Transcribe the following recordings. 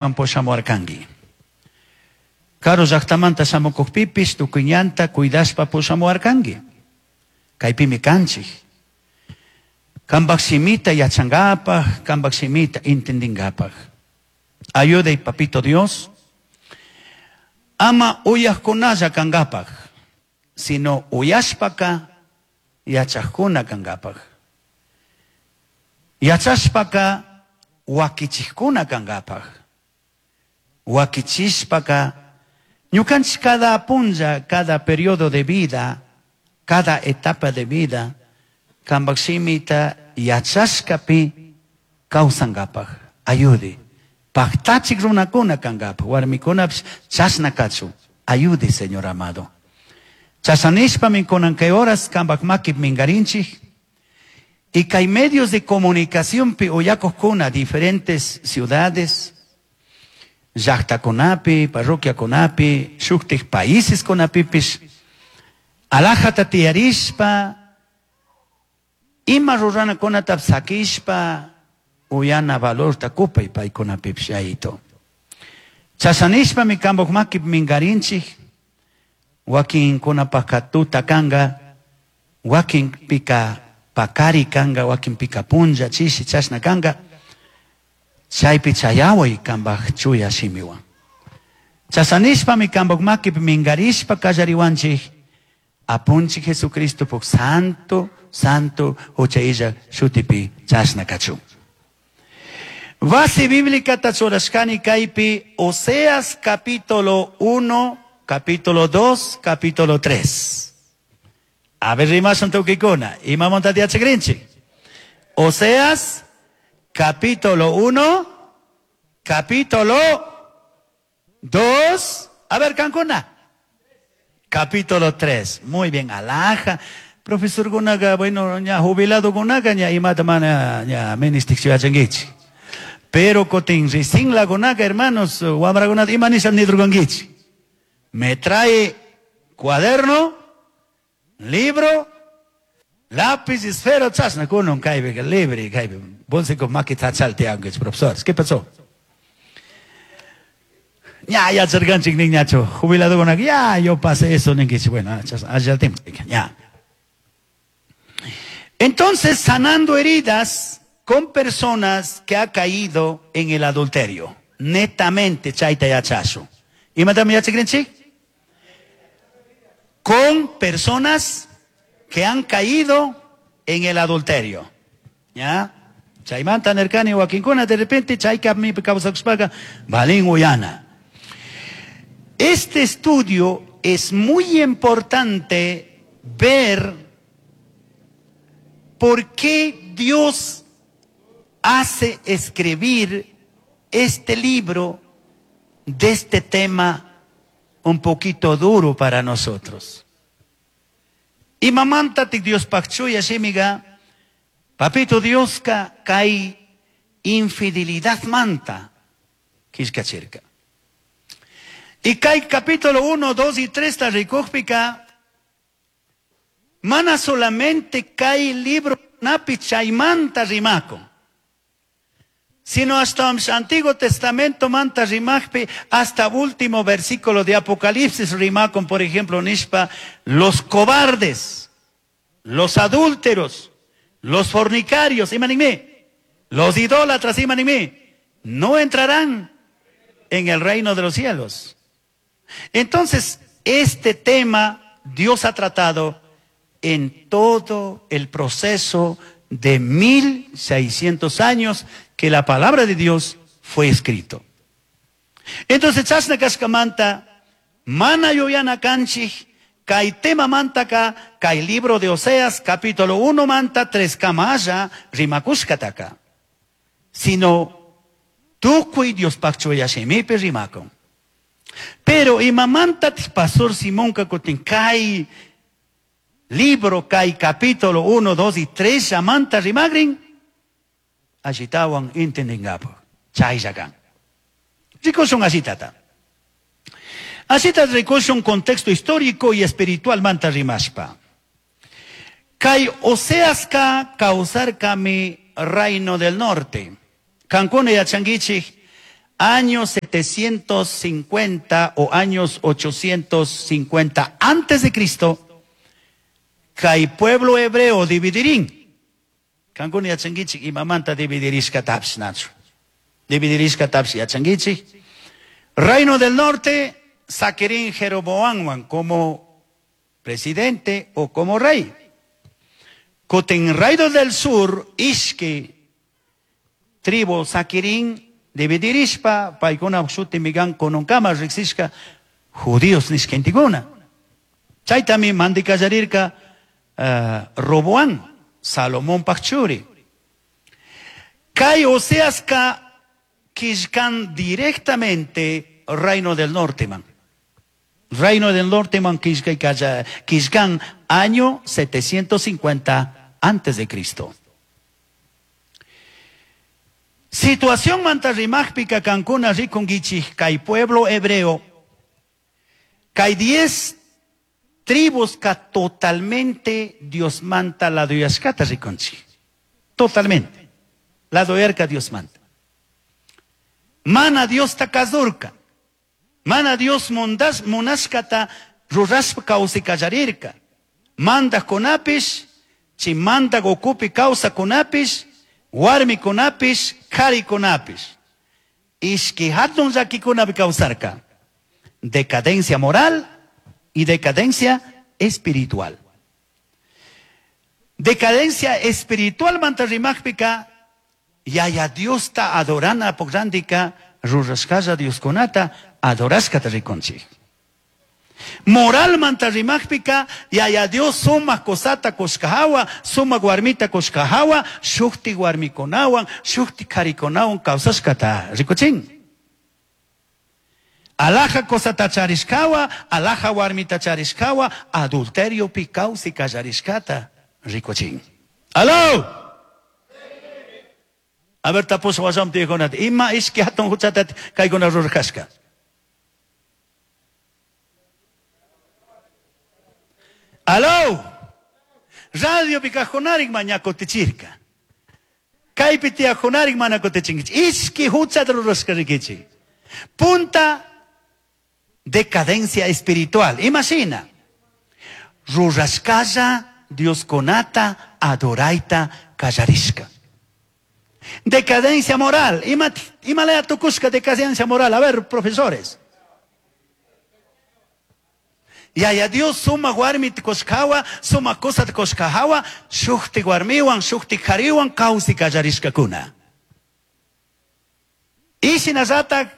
Pushamuarcangui. Karu llajtamanta shamucujpipish tucui ñanta cuidashpa pushamuarcangui. Caipimi canchij. Cambaj shimita yachangapaj, cambaj shimita entendingapaj. Ayudai, Papito Dios, ama uyajcunalla cangapaj, sino uyashpaca yachajcuna cangapaj. Yachashpaca huaquichijcuna cangapaj. Huaquichishpaca ñucanchik cada punlla, cada periodo de vida, cada etapa de vida, cambaj shimita yachashcapi causangapaj. Ayude. Pajtachik runacuna cangapaj, warmicunapish chashna cachun. Ayude, Señor amado. Chashna nishpami cunan kay horas cambaj maquipi mingarinchik. Y kay medios de comunicacionpi uyakujkuna diferentes ciudades, llajtacunapi, parroquiacunapi, shuktik países kunapipish, alajata tiyarishpa, ima ruranakunata sakishpa, uyana valorta kupay paykunapipish Yayito. Chashna nishpami cambaj maquipi mingarinchik, wakinkunapajka tuta kanga, wakinpika pakari kanga, wakinpika punlla, chishi chashna kanga, chaypi chayaway cambaj chuya shimiwan. Chashna nishpami cambaj maquipi mingarishpa kallariwanchik, Apunchik Jesucristopuk santo, santo hucha illaj shutipi chashna kachun. Base bíblica churashkani kaypi Oseas capítulo 1, capítulo 2, capítulo 3. A ver, rimashun tukikuna. Imamanta yachakrinchik? Oseas capítulo 1, capítulo 2. A ver, kankuna. Capítulo 3. Muy bien, alhaja. Profesor kunaga, bueno, ña jubilado kunaga, ña imata mana ña ministik yachankichik. Pero kutin recién kunaga, hermanos, wamrakunata ima nisha nidurkankichik. Me trae cuaderno, libro, lápiz, esfero, chashna kunan kaypi, libre, kaypi. Bolsico makita chalteankichik, profesores. ¿Qué pasó? Ya, yacharkanchik niñachu. Jubilado kunaga, ya, yo pasé eso, ninkichik. Bueno, allá el tiempo, ya. Entonces, sanando heridas con personas que ha caído en el adulterio. Netamente, chayta yachashu. ¿Imatami yachakrinchik? Con personas que han caído en el adulterio. ¿Ya? Chaymanta nirkani wakinkuna de repente chayka mi kawsakushpaqa valin uyana. Este estudio es muy importante ver por qué Dios hace escribir este libro de este tema un poquito duro para nosotros. Imamantatik Diospaj chuya shimiga, Papito Dioska kay infidelidad manta killkachirka. Y kay capítulo 1, 2 y 3 ta rikujpika, mana solamente kay libro napi chaymanta rimakun, sino hasta Antiguo Testamento manta rimajpi, hasta último versículo de Apocalipsis rimakun, por ejemplo, nishpa, los cobardes, los adúlteros, los fornicarios, imanime, los idólatras, imanime, no entrarán en el reino de los cielos. Entonces, este tema Dios ha tratado en todo el proceso de 1600 años que la palabra de Dios fue escrito. Entonces, chashna kashkamanta, mana yuyana kanchik, kay tema mantaka, kay libro de Oseas, capítulo 1 manta, 3 kamalla, rimakushkataka. Sino, tukuy Diospaj chuya shimipi rimakun. Pero imamanta pastor Simón kutin kay libro, kay capítulo 1, 2 y 3, llamanta rimagrin, ashitawan intendingapaj. Chayllakan. Rikushun ashitata. Ashita rikushun contexto histórico y espiritual manta rimashpa. Kay Oseaska kawsarkami reino del norte. Kankuna yachankichik. Año 750 o años 850 antes de Cristo, kay pueblo hebreo dividirin. Kankuna yachankichik imamanta dividirishkatapish nachu. Dividirishkatapish yachankichik. Reino del Norte saquirin Jeroboamwan como presidente o como rey. Kutin Reino del Sur ishki tribu saquirin dividirishpa paykuna shutimi kan kununkama riksishka judíos nishkantikuna. Chaytami mandi kallarirka Roboam, Salomonpak churi. Kay Oseaska killkan directamente Reino del Norte man. Reino del Norte man killkan año 750 antes de Cristo. Situación manta rimajpika kankuna rikunkichik kay pueblo hebreo kay 10 tribus ka totalmente Dios manta la duyashkata rikunchik. Totalmente. La doyarka Dios manta. Mana Dios ta kazurka. Mana Dios mundas munashkata rurashpa kawsay kallarirka. Mandajkunapish, chay mandak ukupi kawsakunapish, warmikunapish, karikunapish. Ishki hatun llakikunapi kawsarka. Decadencia moral y decadencia espiritual. Decadencia espiritual manta rimajpika, yaya Diosta adorana pograndika, rurashkalla Dioskunata adorashkata rikunchik. Moral manta rimajpika, yaya Dios sumak kosata kushkahawa, sumak warmita kushkahawa, shukti warmikunawan, shukti karikunawan kawsashkata rikuchin. Alaja kosata charishkawa, alaja warmita charishkawa, adulteriopi kawsi kallarishkata rikuchin. ¡Aló! A ver, tapus wasam tiyakunata. Ima ishki hatun huchata kaykuna rurashka. ¡Aló! Radio pikajunarik maña kutichirka. Kaypi tiyajunarik mana kutichinkichik. Ishki huchata rurashka rikichik. Punta decadencia espiritual. Imagina. Rurashkalla Dioskunata adoraita kallarishka. Decadencia moral. Ima, ima laya tukushka decadencia moral. A ver, profesores. Yaya Dios suma warmi kushkawa, suma kusat kushkahawa, shukti warmiwan, shukti kariwan kawsi kallarishkakuna. Y shinallatak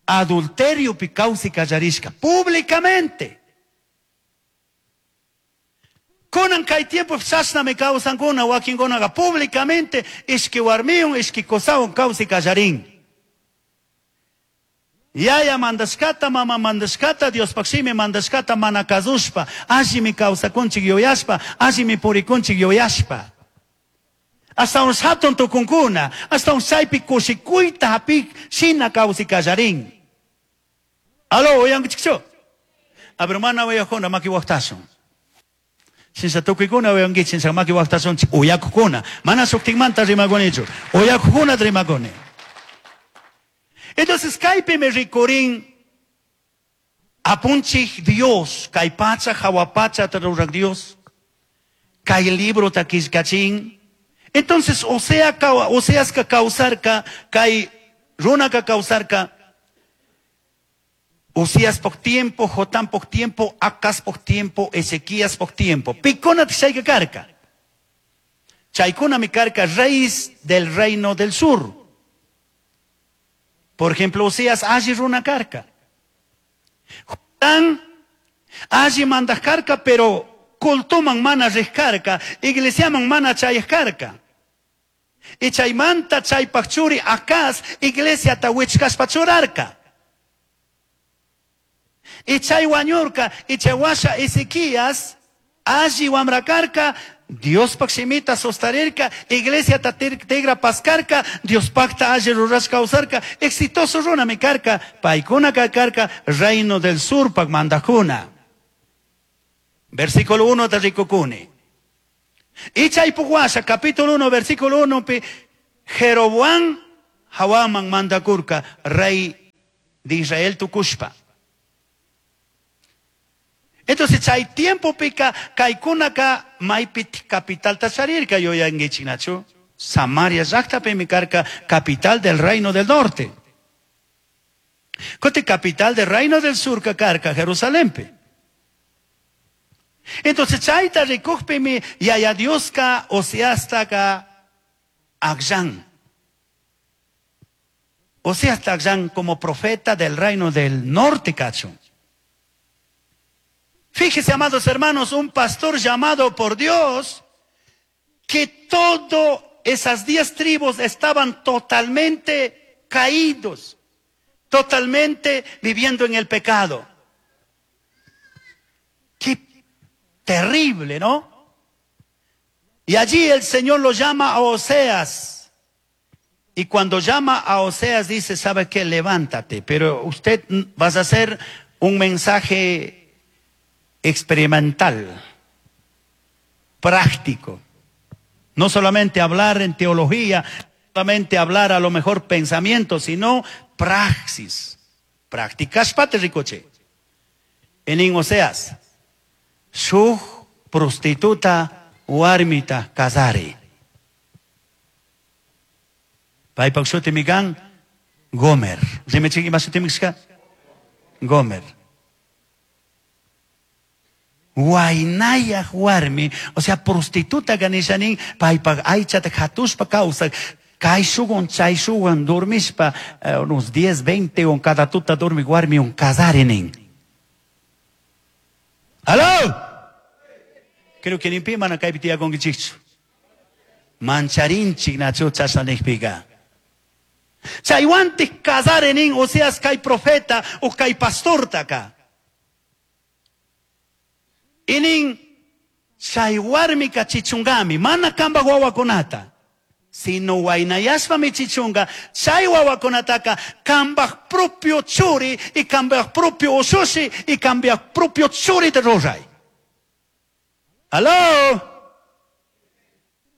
adulterio pi kawsi kallarishka públicamente. Kunan kay tiempo chashnami kawsankuna wakinkunaqa públicamente ishki warmiwan ishki kusawan kawsi kallarin. Yaya mandashkata, mama mandashkata, Diospaq shimi mandashkata mana kasushpa, allimi kawsakunchik yuyashpa, allimi purikunchik yuyashpa. Hasta un hatun tukunkuna, hasta un chaypi kushikuyta hapik shina kawsi kallarin. Aló, uyankichikchu? A ver, mana uyakuna maki waqtashun. Shinsa tukuykuna uyankichik, shinsa maki waqtashunchik uyakukuna. Mana shuktikmanta rimakunichu, uyakukuna rimakuni. Entonces, kaypimi rikurin apunchik Dios, kay pacha hawa pacha rurak Dios, kay librota killkachin. Entonces, Osea Oseaska kawsarka, kay runaka kawsarka, Usías por tiempo, Jotán por tiempo, Acaz por tiempo, Ezequías por tiempo. Pikuna chayka karka. Chaykuna mi karka, reyes del reino del sur. Por ejemplo, Osías alli runa karka. Jotán alli mandak karka, pero cultuman mana riq karka, iglesiaman mana chayaq karka. Y chaymanta chaypaq churi Acaz iglesiata wichkashpa churarka. Y chay wañurka, y chay washa Ezequías alli wamra karka, Diospaq shimita sostarirka, iglesiata tigra paskarka, Diospaqta alli rurashka kawsarka, exitoso runami karka, paykuna karka, reino del sur pak mandajuna. Versículo 1 ta rikukuni. Y chaypuk washa, capítulo 1, versículo 1, pi, Jeroboam Jahuaman mandacurca rey de Israel tucushpa. Entonces chay tiempopika kaykunaka maypi capitalta charirka yuyankichik nachu? Samaria llaqtapimi karka capital del reino del norte. Kuti capital del reino del sur karka Jerusalenpi. Entonces chayta rikukpimi Yaya Dioska Oseastaka akllan. Oseasta akllan como profeta del reino del norte kachun. Fíjese, amados hermanos, un pastor llamado por Dios, que todas esas 10 tribus estaban totalmente caídos, totalmente viviendo en el pecado. Qué terrible, ¿no? Y allí el Señor lo llama a Oseas. Y cuando llama a Oseas dice, ¿sabe qué? Levántate. Pero usted vas a hacer un mensaje experimental, práctico. No solamente hablar en teología, no solamente hablar a lo mejor pensamiento, sino praxis. Prácticas pate ricoche. En Oseas, shuj prostituta warmita casari. Paypak shutimi kan Gomer. Rimachik ima shutimi kashka? Gomer. Huaynayaj warmi, o sea, prostituta kanishanin, paypak aychata hatushpa kawsak, kayshuwan chayshuwan dormishpa, unos 10, 20 on cada tuta dormi warmi on casarinin. ¡Aló! Creo que ni mana kaypi tiyakunkichikchu. Mancharinchik nachu chashna nijpika. Chaywantik casarinin, o sea, kay profeta o kay pastortaka. Inin chay warmika chichungami, mana kamba wawakunata, sino waynayashpami chichunga, chay wawakunataka kambaj propio churi y kambaj propio ushushi y kambaj propio churi te ruray. ¿Aló?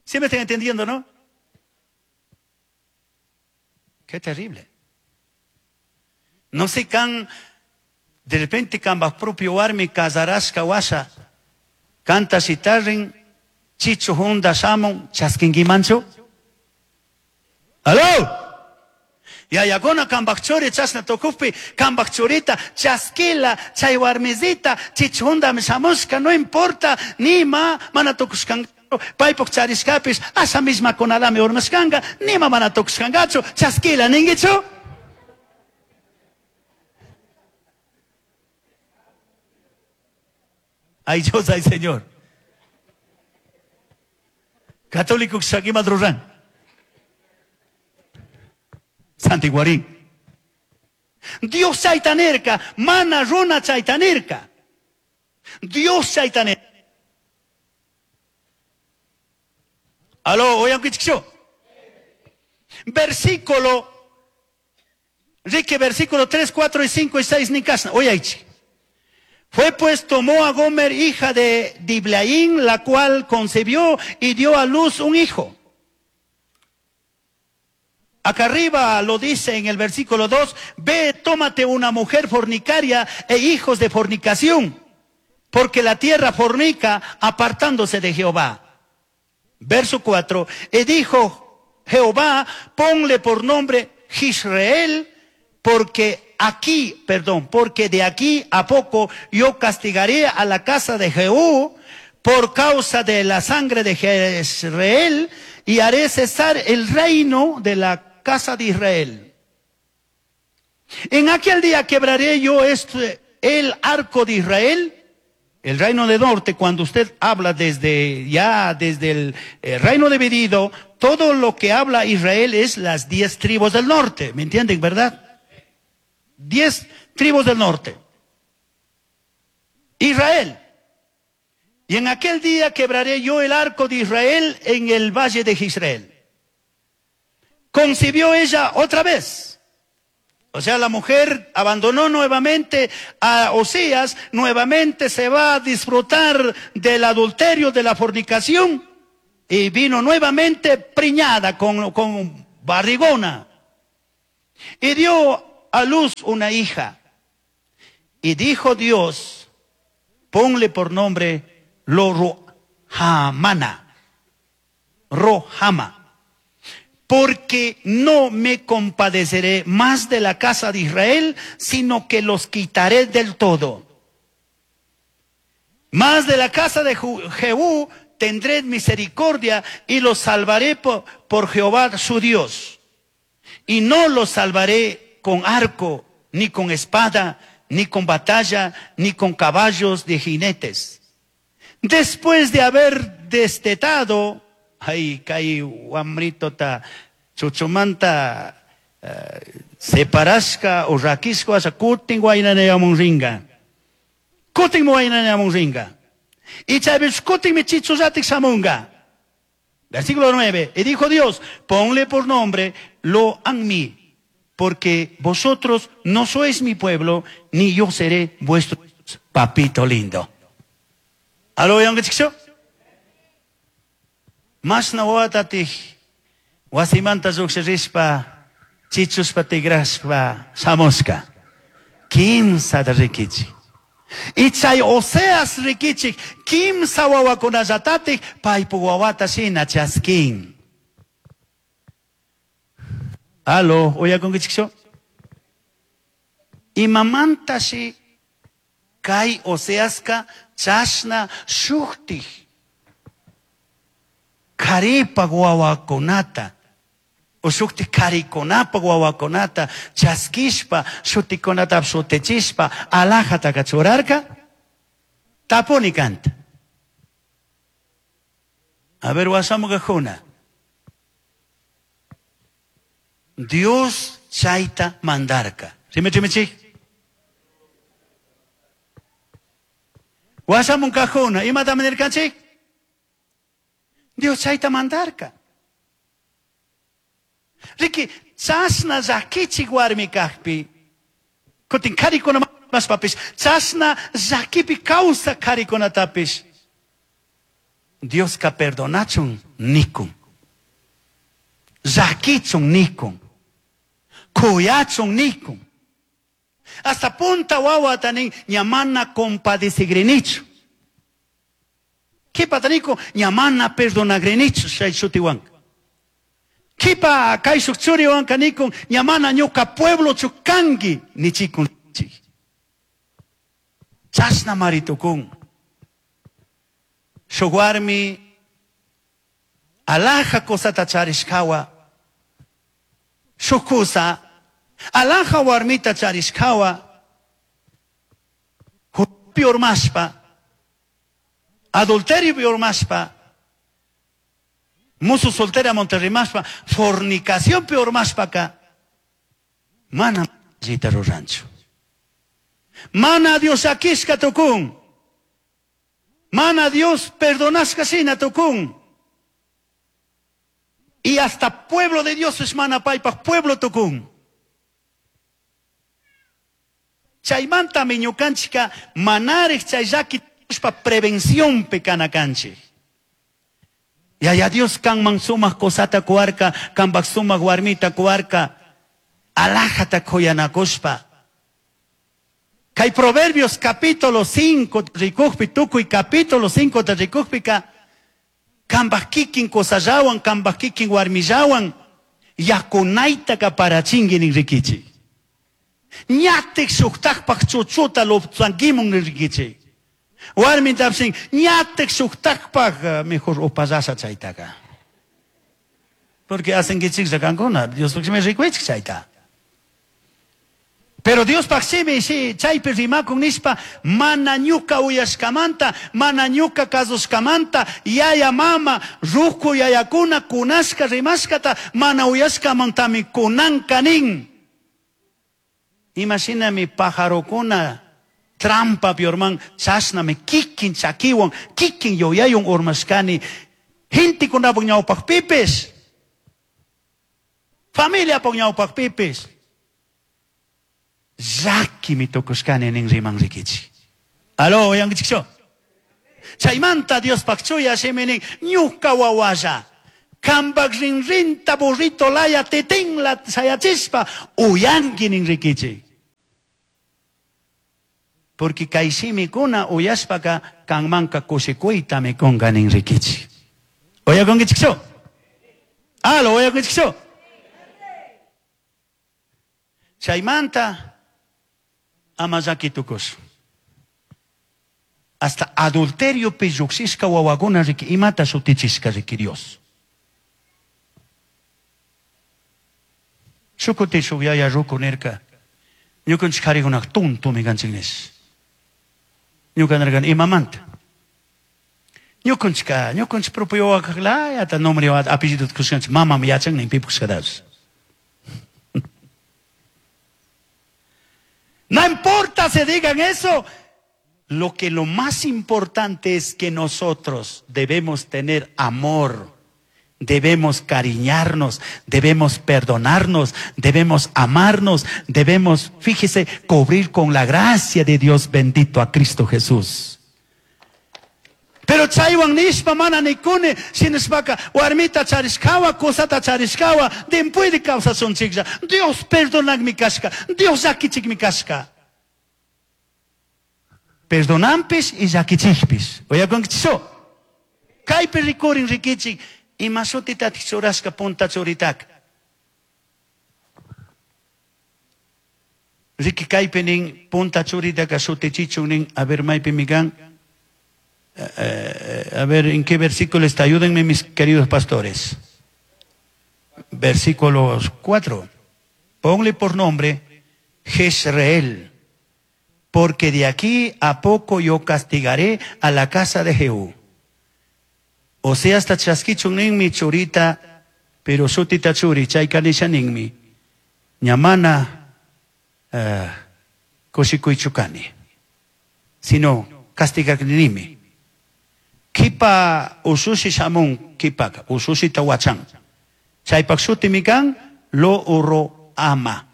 ¿Sí me están entendiendo, no? Qué terrible. No sé can de repente kambaj propio warmi casarashka washa, canta shitarrin, chichu hunda shamun, chaskinkimanchu. ¡Aló! Yayakuna kambaj churi chashna tukukpi, kambaj churita, chaskila, chay warmizita, chichu hundami shamushka, no importa, nima, mana tukushkangachu, paypuk charishkapis, asha misma kunalami urmashkanga, nima mana tukushkangachu, chaskila, ninguichu? Ay Dios, ay Señor. Católico Shakima Drurán. Santiguarín. Dios chaytanerka, mana runa chaytanerka. Dios chaytanerka. Aló, oigan que Versículo, Rique, versículo 3, 4 y 5 y 6, Nikasna. Oye, Fue pues, tomó a Gomer, hija de Diblaín, la cual concibió y dio a luz un hijo. Acá arriba lo dice en el versículo 2, ve, tómate una mujer fornicaria e hijos de fornicación, porque la tierra fornica apartándose de Jehová. Verso 4, y dijo Jehová, ponle por nombre Jisrael, porque aquí, perdón, porque de aquí a poco yo castigaré a la casa de Jehú por causa de la sangre de Jezreel y haré cesar el reino de la casa de Israel. En aquel día quebraré yo el arco de Israel, el reino del norte. Cuando usted habla desde el reino dividido, todo lo que habla Israel es las 10 tribus del norte, ¿me entienden, verdad? 10 tribus del norte. Israel. Y en aquel día quebraré yo el arco de Israel en el valle de Jezreel. Concibió ella otra vez. O sea, la mujer abandonó nuevamente a Osías, nuevamente se va a disfrutar del adulterio, de la fornicación, y vino nuevamente preñada con barrigona. Y dio a luz una hija. Y dijo Dios, ponle por nombre Lo-ruhamana, Rohama, porque no me compadeceré más de la casa de Israel, sino que los quitaré del todo. Más de la casa de Jehú tendré misericordia y los salvaré por Jehová su Dios. Y no los salvaré con arco, ni con espada, ni con batalla, ni con caballos de jinetes. Después de haber destetado, ay, kay wamritota chuchumanta separashka o rakishka asha kutin waynanayamun ringa. Kutin waynanayamun ringa. Y chaypish kutinmi chichullatik shamunga. Versículo 9. Y dijo Dios, ponle por nombre Lo Ammi, porque vosotros no sois mi pueblo, ni yo seré vuestro papito lindo. ¿Aló, yankichikchu? Mashna wawatatik wasimanta lluqshirishpa chichushpa tigrashpa shamushka. Kimsata rikichik. Y chay Oseas rikichik kimsa wawakunallatatik paypuk wawata shina chaskin. Aló, uyakunkichikchu? Imamantashi kay Oseaska chashna shuktik karipak wawakunata o shuktik karikunapa wawakunata chaskishpa shutikunata shutichishpa alajataka churarka? Tapuni kanta. A ver, wasamukajuna. Dios chayta mandarka. Rimichimichik. Wasamunkajuna. Imata nirkanchik? Dios chayta mandarka. Riki, chashna llakichik warmi kajpi, kutin karikuna mashpapish, chashna llakipi kawsak karikunatapish, Dioska perdonachun nikun. Llakichun nikun. Kuyachun nikun. Hasta punta wawata nin, ña mana compadecigrinichu. Kipata nikun, ña mana perdonagrinichu chay shutiwanka. Kipa kayshuk churiwanka nikun, ña mana ñuka pueblochu kanki nichikun. Chashna maritukun. Shuk warmi alaja cosata charishkawa. Shuk kusa alaja warmita charishkawa. Huchapi urmashpa, adulteriopi urmashpa, musu soltera monterrimashpa, fornicacionpi urmashpaka, mana allita ruranchu. Mana Dios llakishka tukun. Mana Dios perdonashka shina tukun. Y hasta pueblo de Dios es mana paypaj pueblo tukun. Chaymantami ñukanchika manarik chay llaki tukushpa prevencionpi kana kanchik. Yaya Dios kanman sumak cosata kuwarka, kanpak sumak warmita kuwarka, alajata kuyanakushpa. Kay Proverbios capítulo 5 rikukpi, tukuy capítulo 5 ta rikukpika, kanpak kikin kusallawan, kanpak kikin warmillawan, yakunaytaka parachinki nin rikichik. Ñatik shuktakpak chuchuta luptsankimun nin rikichik. Warmitapsin, ñatik shuktakpak, mejor upallasha chaytaka. Porque hacenkichiklla kankuna, Diospaq shimi rikuichik chayta. Pero Diospaq shimi, shi, chaypi rimakun nishpa, mana ñuka uyashkamanta, mana ñuka kasushkamanta, yaya mama, ruku yayakuna, kunashka rimashkata, mana uyashkamantami kunanka nin. Imashinami pajarokuna trampa urman, chashnami kikin chakiwan, kikin yuyaywan urmashkani, gentekunapak ñawpakpipish, familiapak ñawpakpipish, llakimi tukushkani nin riman rikichik. Aló, uyankichikchu? Chaymanta Diospaq chuya shimi nin, ñuka wawalla, Cambaj rinrinta burrito laya titinla shayachishpa uyanqui nin riquichij. Porque kay shimikuna uyashpaka kanmanka kushikuytami kunka nin riquichij. Uyakunkichikchu? Alo, uyakunkichikchu? Chaymanta ama llaki tukushun. Hasta adulteriopi llujshishka wawakuna riki imata shutichishka riki Dios. Shuk kuti shuk yaya ruku nirka, ñukanchik karikunaqa tontumi kanchik nish. Ñuka nirkani, imamanta? Ñukanchikka, ñukanchik propio wawakaq layata nombre apellidota kushkanchik, mamami yachan nin pipak kushkatapish. No importa se digan eso. Lo que lo más importante es que nosotros debemos tener amor, debemos cariñarnos, debemos perdonarnos, debemos amarnos, debemos, fíjese, cubrir con la gracia de Dios bendito a Cristo Jesús. Pero chaywan nishpa mana nikuni, shinashpaka warmita charishkawa, cusata charishkawa, dimpuede kawsashunchiklla. Dios perdonakmi kashka, Dios llakichikmi kashka. Perdonanpish y llakichikpish. Uyakunkichikchu? Kaypi rikurin rikichik, ima shutitatik churashka punta churitaka. Riki kaypi nin punta churitaka shutichichun nin, a ver maypimi kan. A ver, ¿en qué versículo está? Ayúdenme mis queridos pastores. Versículo 4. Ponle por nombre Jezreel, porque de aquí a poco yo castigaré a la casa de Jehú. O sea, hasta chaskichun ninmi churita, pero shutita churi, chayka nisha ninmi. Ñamana kushikuychu kani, sino castigakninimi. Kipa ushushi shamun kipaka, ushushita wachan. Chaypak shutimi kan lo uro ama.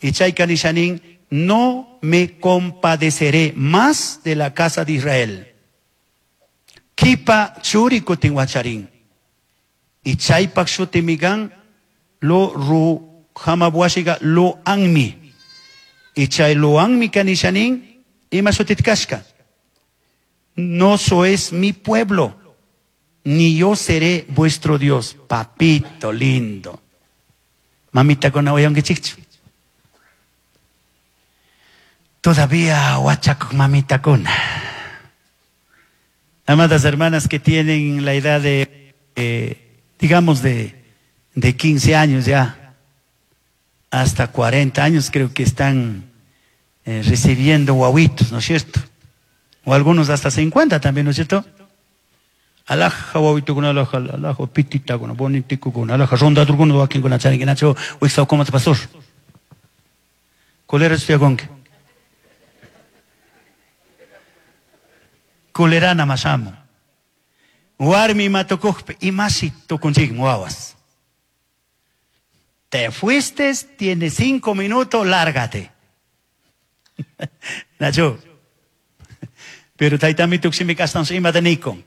Y chayka nisha nin, no me compadeceré más de la casa de Israel. Kipa churi kutin wacharin. Y chaypak shutimi kan lo ru hamabuashiga lo anmi. Y chay lo anmi kanishanin, ima shutit kashka. No sois mi pueblo, ni yo seré vuestro Dios. Papito lindo. Mamita con uyankichikchu. Todavía wachakuk mamita kuna. Amadas hermanas que tienen la edad de, digamos, de 15 años ya, hasta 40 años creo que están recibiendo guaguitos, ¿no es cierto? O algunos hasta 50 también, ¿no es cierto? Alaja wawitokuna, alaja, alaja pititakuna, bonitikukuna, alaja rondadurkuna wakinkuna charinkinachu, wiksaw pastor. Kulera estudiakunki. Kulerana mashamu. Warmi ima tukukpi, imashi tukunchikmi wawas. Te fuiste, tienes 5 minutos, lárgate. Nacho. Pero taytami tukshimika ashtawan imata nikun.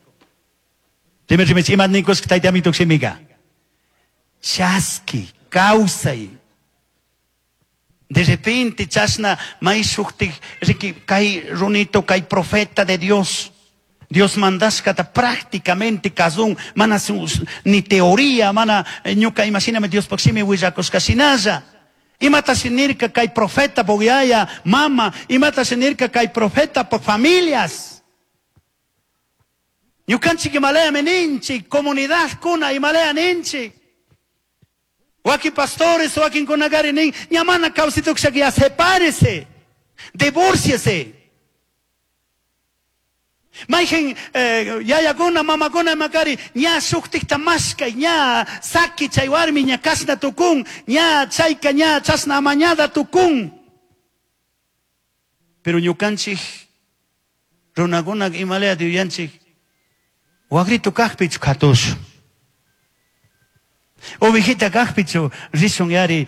Dime, dime, imata nikusqa taytami tukshimika. Chaski, kawsay. De repente chashna may shuktik riki kay runito kay profeta de Dios. Dios mandashkata prácticamente kazun, mana ni teoría, mana ñuka imaginame Dios shimi willakushka shinalla. Imata shinirka kay profeta puk yaya, mama, imata shinirka kay profeta puk familias. Ñukanchik imalaya ninchik, comunidad kuna imalaya ninchik. Wakin pastores, wakin kunagari nin, ñamana kawsituksha ya sepárese, divórciese. Mayqin yayakuna, mamakuna imakari, ña shuktikta mashkay, ña saki chay warmi, ña kashna tukun, ña chayka, ña chashna amañada tukun. Pero ñukanchik, runakuna imalaya yuyanchik, waqritu kaqpichu qhatushun. Ovejita kaqpichu rishun yari,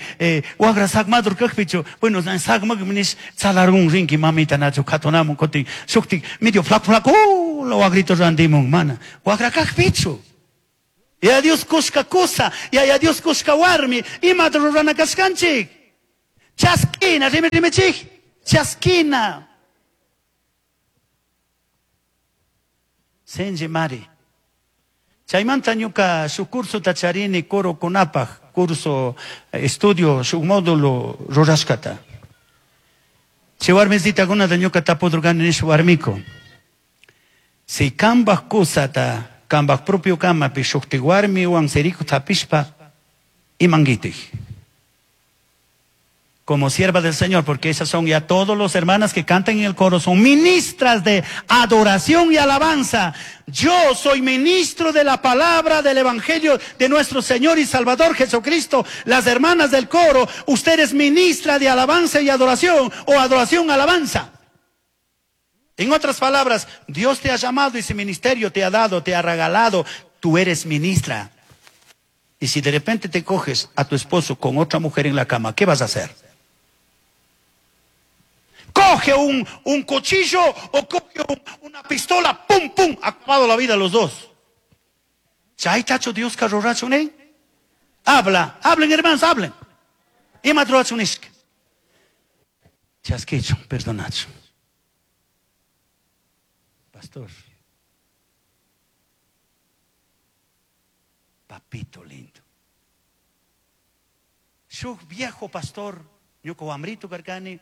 waqra saqmadur kaqpichu, bueno, saqmaq nish tsalarun rinki mamita nachu qhatunamun kutin shuktik medio flaco flaco waqrito rantimun mana, waqra kaqpichu. Yaya Dios cushca cusa, Yaya Dios cushca warmi, imata rurana kashkanchik? Chaskina, rimi rimichik, chaskina. Sinchi mari. Chaymanta ñuka shuk cursota charini corokunapaj, curso, estudio, shuk módulo rurashkata. Chay warmisitakunata ñuka tapudurkani nish warmiku. Si kambaj kusata, kambaj propio kamapi shukti warmiwan sirikut hapishpa, imanguitik. Como sierva del Señor, porque esas son ya todos los hermanas que cantan en el coro, son ministras de adoración y alabanza. Yo soy ministro de la palabra del Evangelio de nuestro Señor y Salvador Jesucristo. Las hermanas del coro, ustedes ministra de alabanza y adoración o adoración alabanza. En otras palabras, Dios te ha llamado y ese ministerio te ha dado, te ha regalado. Tú eres ministra. Y si de repente te coges a tu esposo con otra mujer en la cama, ¿qué vas a hacer? Coge un cuchillo o coge una pistola, pum, pum, acabado la vida los dos. Chaytachu Diosca rurachun, ¿eh? Habla, hablen hermanos, hablen. Ima rurachun nishka. Chasquichun, perdonachun. Pastor, papito lindo. Shuk viejo pastor, ñuka wamrito karkani,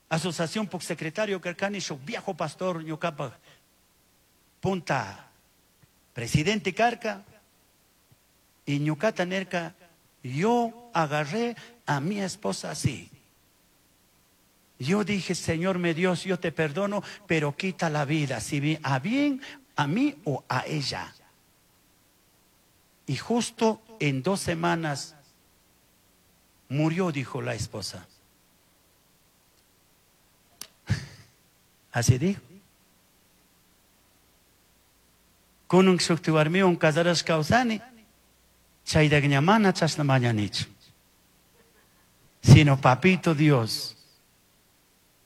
asociación puk secretario karkani, shuk viejo pastor, ñukapaj punta presidente karka, y ñukata nerka, yo agarré a mi esposa así. Yo dije, Señor mi Dios, yo te perdono, pero quita la vida, si a bien, a mí o a ella. Y justo en 2 semanas murió, dijo la esposa. Así dijo. Kunun shukti warmiwan casarashka kawsani, chayta ña mana chashna mañanichu. Sino papito Dios.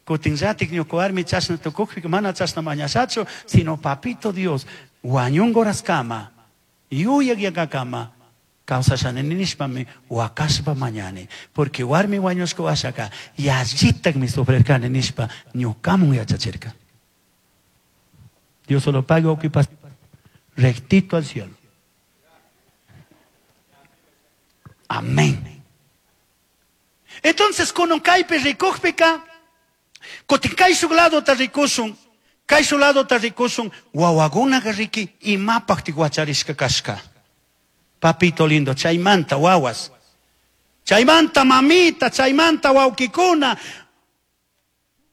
Kutinllatik ñuka warmi chashna tukukpi mana chashna mañashachu, sino papito Dios, wañungo horaskama, yuyak yakakama, kawsashani nishpami wakashpa mañani. Porque warmi wañushka washaka, yallitakmi sufrirkani nishpa ñukamun yachachirka. Dios solo paga ocupa rectito al cielo. Amén. Entonces, con un kaypi rikukpika, kutin kay shuk ladota rikushun, kay shuk ladota rikushun, wawakunaqa riki imapaqtik wacharishka kashka. Papito lindo, chaymanta wawas, chaymanta mamita, chaymanta wawkikuna,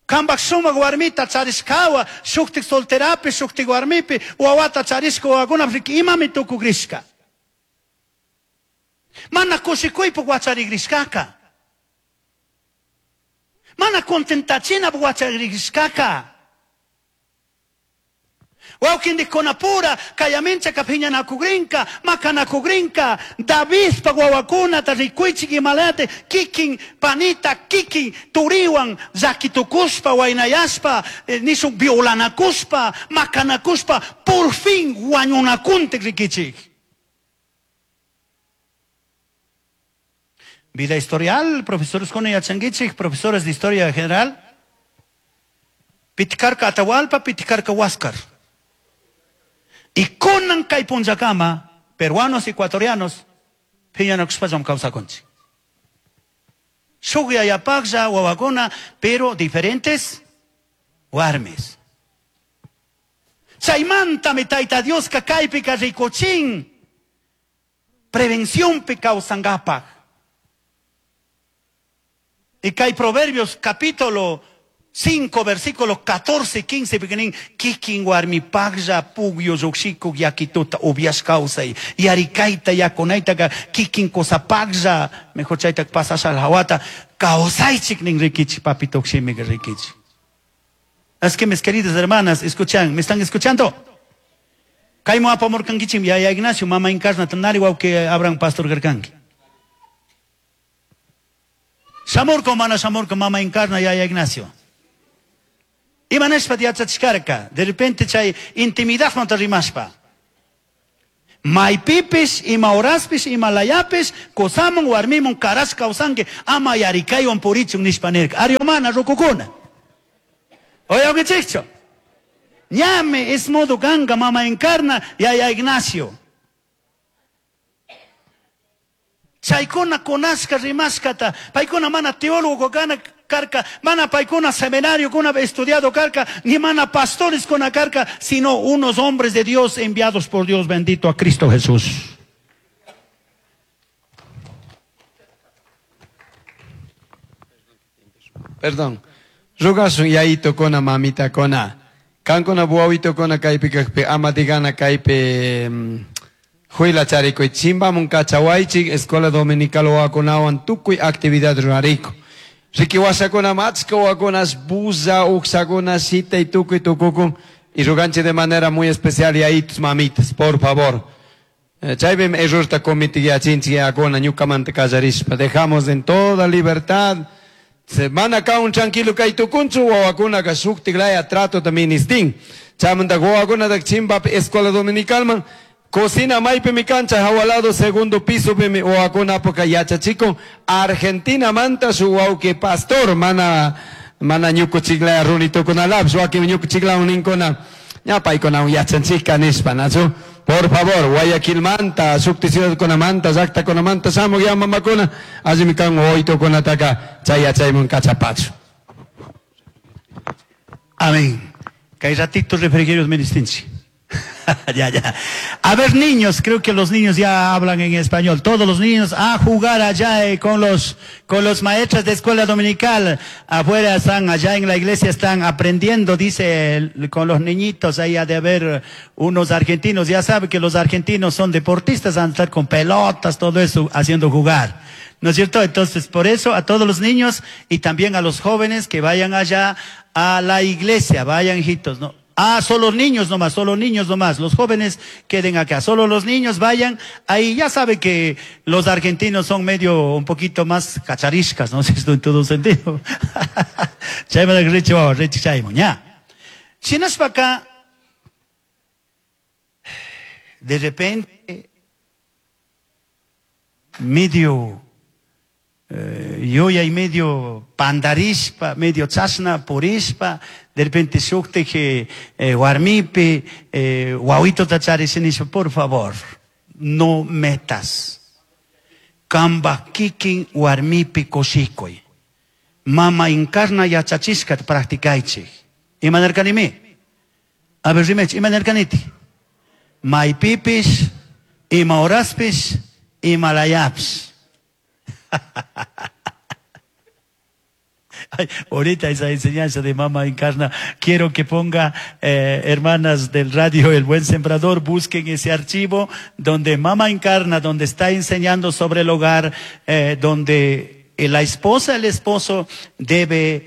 kambaj sumak warmita charishkawa, shuktik solterapi, shuktik warmipi, wawata charishka wawakuna riki imami tukugrishka. Mana kushikuypuk wacharigrishkaka. Mana contentachina wacharigrishkaka. Wawkindikunapura, kayaminchaka phiñanakugrinka, makanakugrinka, Davidpa wawakunata rikuychik imalate, kikin panita, kikin turiwan llakitukuspa, waynayaspa, nishun violanakuspa, makanakuspa, por fin wañunakuntik rikichik. Vida historial, profesores con yachankichik, profesores de historia general. Pitkarka Atahualpa, pitkarka Huáscar. Y kunan kay punllakama, peruanos, ecuatorianos, phiñanakushpallam kawsakunchik. Shuk yayapaqlla wawakuna, pero diferentes warmis. Chaymantami Tayta Dioska kaypika rikuchin prevencionpi kawsankapaq. Y kay Proverbios capítulo 5, versículos 14 y 15, piquenín, kikin warmi paglla pugyo yoxiko yakituta ubias causa y yarikaita yakunaita ka kikin cosa paglla, mejor chaita pasasha al hawata, causaichik nin rikichi, papito ximi rikichi. Es que mis queridas hermanas, escuchan, ¿me están escuchando? Kaimo apamorkankichim, ya Ignacio, mama encarna, tanari wauke abran pastor gerkanki. Shamurko mana shamurko mama encarna, ya Ignacio. Imanashpa yachachkarka, de repente chay intimidad manta rimashpa. Maypipish, ima horaspish, ima layapish, cusaman warmiman carash kawsanki, ama yarikaywan purichun nishpa nirka. Ari mana rukukuna. Uyankichikchu? Ñami ismudu kanka mama Encarna, yaya Ignacio. Chaykuna kunashka rimashkata, paykuna mana teólogo kana karka, mana paykuna seminario kuna estudiado karka, ni mana pastores kuna karka, sino unos hombres de Dios enviados por Dios bendito a Cristo Jesús. Perdón. Rugasun yayitokuna mamitakuna. Kankuna wawitokuna kaypi kakpi ama digana kaypi huila charikuy chimbamun kachawaychik escuela dominical wawakunawan tukuy actividad rurariku. Riki washakuna achka wawakunas bulla uksakuna shitay tukuy tukukun y ruganchik de manera muy especial yayitos mamitas, por favor. Chaypim errorta cometigachinchik yayakuna ñukamanta kallarishpa. Dejamos en toda libertad. Mana kaun tranquilo kay tukunchu wawakunaka shuktik laya trato ministin. Chaymanta wawakunata chimbapi escuela dominicalman cocina maypimi kancha hawa lado segundo piso pimi wawakunapuka yachachikun Argentina manta shuk wawki pastor mana mana ñukuchiklaya runitukunalapish wakin ñukuchiklawan ninkuna ña paykunawan yachanchikka nishpa nachu. Por favor, Guayaquilmanta, shukti ciudadkunamanta, llaktakunamanta shamuq ya mamakuna, allimi kan wawitukunataka chay yachayman kachapachu. Amén. Kay ratito refrigerios ministinchi. Ya, ya. A ver, niños, creo que los niños ya hablan en español. Todos los niños a jugar allá con los maestros de escuela dominical. Afuera están, allá en la iglesia están aprendiendo, dice, con los niñitos. Ahí ha de haber unos argentinos. Ya sabe que los argentinos son deportistas, han de estar con pelotas, todo eso, haciendo jugar. ¿No es cierto? Entonces, por eso a todos los niños y también a los jóvenes que vayan allá a la iglesia, vayan, hijitos, ¿no? Ah, solo niños nomás, solo niños nomás. Los jóvenes queden acá. Solo los niños vayan. Ahí ya sabe que los argentinos son medio un poquito más cachariscas, ¿no? Esto en todo sentido. Chayma richi wawa, richi chaymo, ña. Shinashpa acá, de repente, medio yuyay medio pandarishpa, medio chashna purishpa, de repente shuktik warmipi wawitota charish nishpa, por favor, no metas. Kamba kikin warmipi kushikuy. Mama Encarna yachachishkata practicaychik. Ima nirkanimi? A ver, rimech, ima nirkaniti? Maypipish, ima horaspish, ima layapish. Ay, ahorita esa enseñanza de Mama Encarna, quiero que ponga, hermanas del radio El Buen Sembrador, busquen ese archivo donde Mama Encarna, donde está enseñando sobre el hogar, donde la esposa, el esposo debe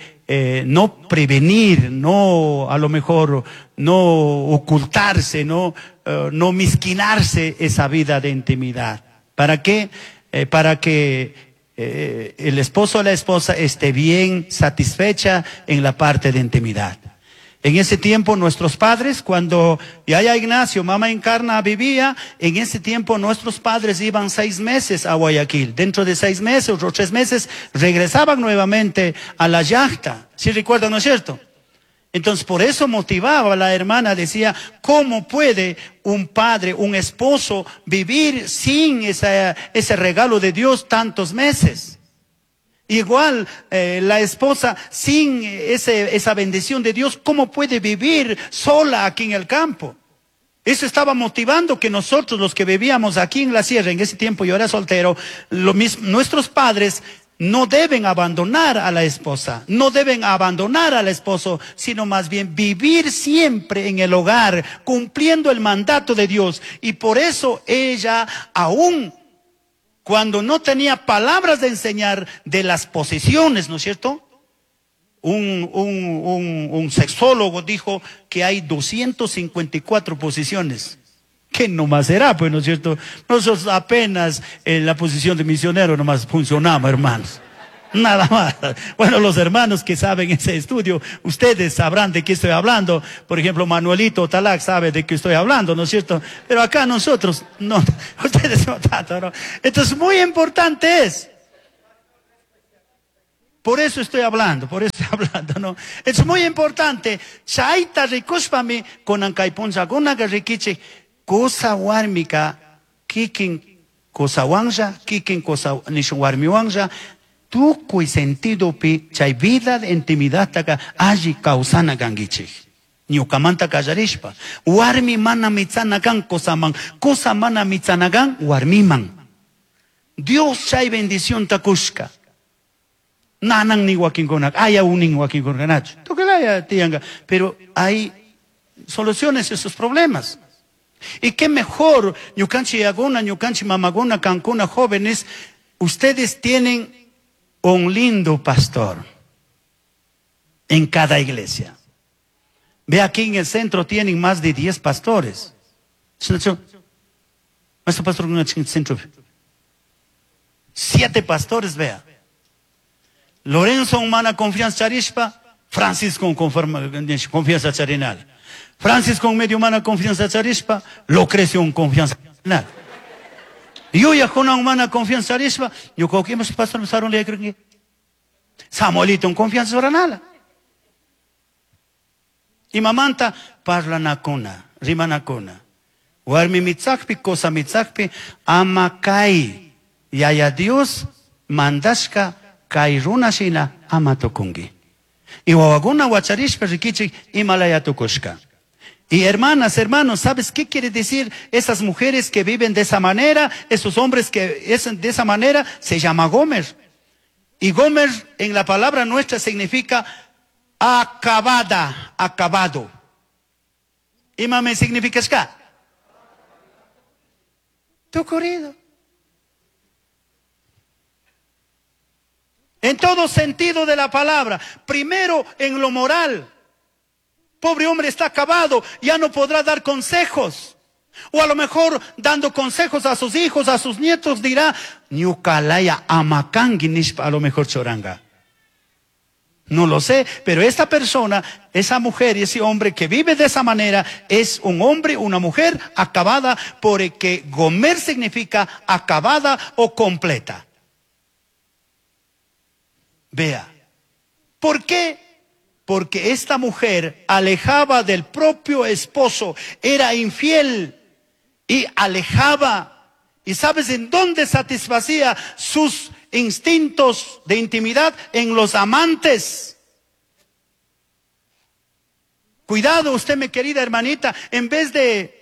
no prevenir, no a lo mejor no ocultarse, no misquinarse esa vida de intimidad. ¿Para qué? Para que el esposo o la esposa esté bien satisfecha en la parte de intimidad. En ese tiempo nuestros padres, cuando Yaya Ignacio, Mama Encarna vivía, en ese tiempo nuestros padres iban 6 meses a Guayaquil. Dentro de 6 meses o 3 meses regresaban nuevamente a la llacta. ¿Sí recuerdan, no es cierto? Entonces por eso motivaba a la hermana, decía, ¿cómo puede un padre, un esposo vivir sin ese regalo de Dios tantos meses? Igual la esposa sin esa bendición de Dios, ¿cómo puede vivir sola aquí en el campo? Eso estaba motivando que nosotros, los que vivíamos aquí en la sierra, en ese tiempo yo era soltero, lo mismo, nuestros padres no deben abandonar a la esposa, no deben abandonar al esposo, sino más bien vivir siempre en el hogar, cumpliendo el mandato de Dios. Y por eso ella, aún cuando no tenía palabras de enseñar de las posiciones, ¿no es cierto? Un sexólogo dijo que hay 254 posiciones. ¿Qué nomás será, pues, no es cierto? Nosotros apenas en la posición de misionero nomás funcionamos, hermanos. Nada más. Bueno, los hermanos que saben ese estudio, ustedes sabrán de qué estoy hablando. Por ejemplo, Manuelito Talac sabe de qué estoy hablando, ¿no es cierto? Pero acá nosotros, no, ustedes no tanto, ¿no? Entonces, muy importante es. Por eso estoy hablando, por eso estoy hablando, ¿no? Es muy importante. Chaita rikushpami kunan kay punllakunaka rikichik kusa warmika kikin kusawanlla, kikin kusa nishun warmiwanlla, tukuy sentidopi chay vida de intimidadtaka alli kawsana kankichik. Ñukamanta kallarishpa. Warmi mana mitsana kan kusaman, kusa mana mitsana kan warmiman. Dios chay bendición ta kushka. Nanan ni wakinkuna, aya unin wakinkuna nachu. Tukulaya tianga, pero hay soluciones a esos problemas. Y qué mejor, ñukanchi yaguna, ñukanchi mamaguna, kankuna, jóvenes, ustedes tienen un lindo pastor en cada iglesia. Ve aquí en el centro tienen más de 10 pastores. Nuestro pastor en el centro. 7 pastores, vea. Lorenzo humana confianza charishpa, Francisco confianza charinal. Francisco medio humana confianza charishpa, Lucrecio un confianza charinal. Yo ya con humana confianza charishpa, yo creo que hemos pastor saron le creo Samuelito un confianza charinal. Y mamanta parla nakuna, rima nakuna. Warmi mitzakpi, cosa mitzakpi, ama kai, yaya Dios mandashka kay runa shina ama tukunki. Y wawakuna wacharishpa rikichik imalaya tukushka. Y hermanas, hermanos, ¿sabes qué quiere decir esas mujeres que viven de esa manera? Esos hombres que es de esa manera, se llama Gomer. Y Gomer en la palabra nuestra significa acabada, acabado. Imame significa ska. Tucurido. En todo sentido de la palabra. Primero en lo moral. Pobre hombre está acabado, ya no podrá dar consejos. O a lo mejor dando consejos a sus hijos, a sus nietos, dirá, ñukalaya amakangi nishpa, a lo mejor choranga. No lo sé, pero esta persona, esa mujer y ese hombre que vive de esa manera, es un hombre, una mujer acabada, porque Gomer significa acabada o completa. Vea, ¿por qué? Porque esta mujer alejaba del propio esposo, era infiel y alejaba. ¿Y sabes en dónde satisfacía sus instintos de intimidad? En los amantes. Cuidado usted, mi querida hermanita, en vez de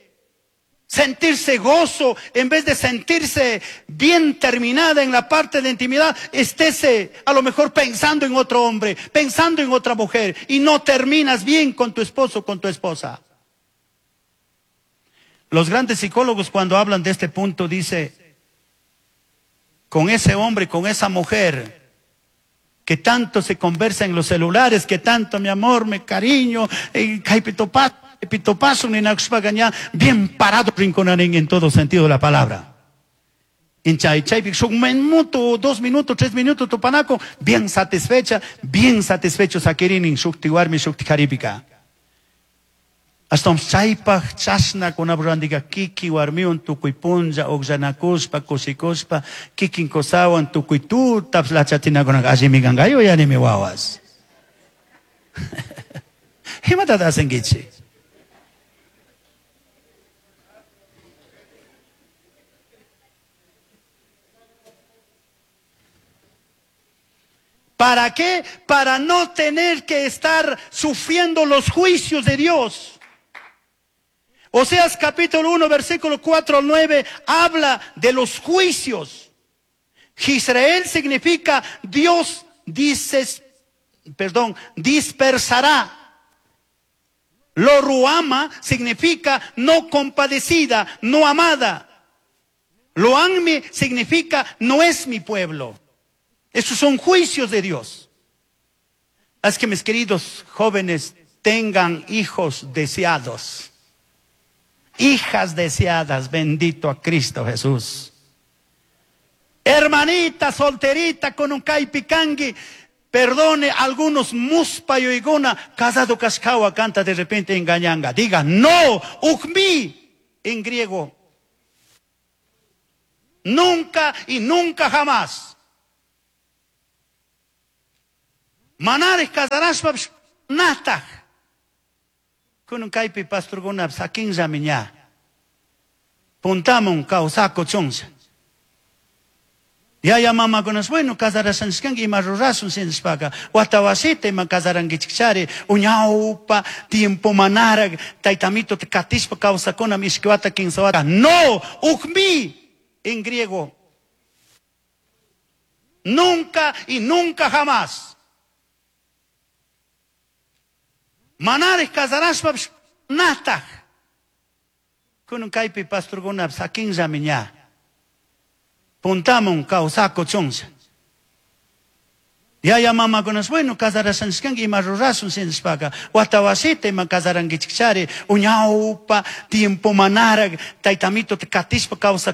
sentirse gozo, en vez de sentirse bien terminada en la parte de intimidad, estése a lo mejor pensando en otro hombre, pensando en otra mujer, y no terminas bien con tu esposo, con tu esposa. Los grandes psicólogos cuando hablan de este punto dice, con ese hombre, con esa mujer, que tanto se conversa en los celulares, que tanto mi amor, mi cariño, pitopaso, ni naxpagaña, bien parado rinconarín en todo sentido de la palabra. En chay, chay, un minuto, 2 minutos, 3 minutos, topanaco, bien satisfecha, bien satisfecho saquirinin, shukti warmi, shukti jaripika. Hasta un chaypaj chasna con abrandiga kiki warmiun tukuy punlla, oxanakuspa, kusikuspa, kikin kosawan tukuy tu, taps la chatina con allimigangayo ya ni mi wawas. Imata hacen gichi? ¿Para qué? Para no tener que estar sufriendo los juicios de Dios. Oseas capítulo 1, versículo 4 al 9, habla de los juicios. Israel significa Dios dispersará. Lo ruama significa no compadecida, no amada. Lo anmi significa no es mi pueblo. Esos son juicios de Dios. Haz que mis queridos jóvenes tengan hijos deseados. Hijas deseadas, bendito a Cristo Jesús. Hermanita, solterita, con kaypi kanki, perdone, algunos muspayuyguna casado kashkawa kanta de repente engañanga. Diga, no, ukmi en griego. Nunca y nunca jamás. Manaraj casarashpapish nataj. Kunan kaypi pastorkuna sakinllami ña. Puntamun kawsakuchunlla. Yaya mamakunas, bueno, casarashanchishkanki ima rurashun shinashpaka, wata wasita ima casarankichikchari, uñawpa tiempo manaraj taytamitota katishpa kawsakuna ishki wata kinsa wata. No, ukmi en griego. Nunca y nunca jamás. Manaraj casarashpapish nataj. Kunan kaypi pastorkuna sakinllami ña. Puntamun kawsakuchunlla. Yaya mamakunas, bueno, casarashanchishkanki ima rurashun shinashpaka, wata wasita ima casarankichikchari, uñawpa tiempo manaraj taytamitota katishpa kawsakuna.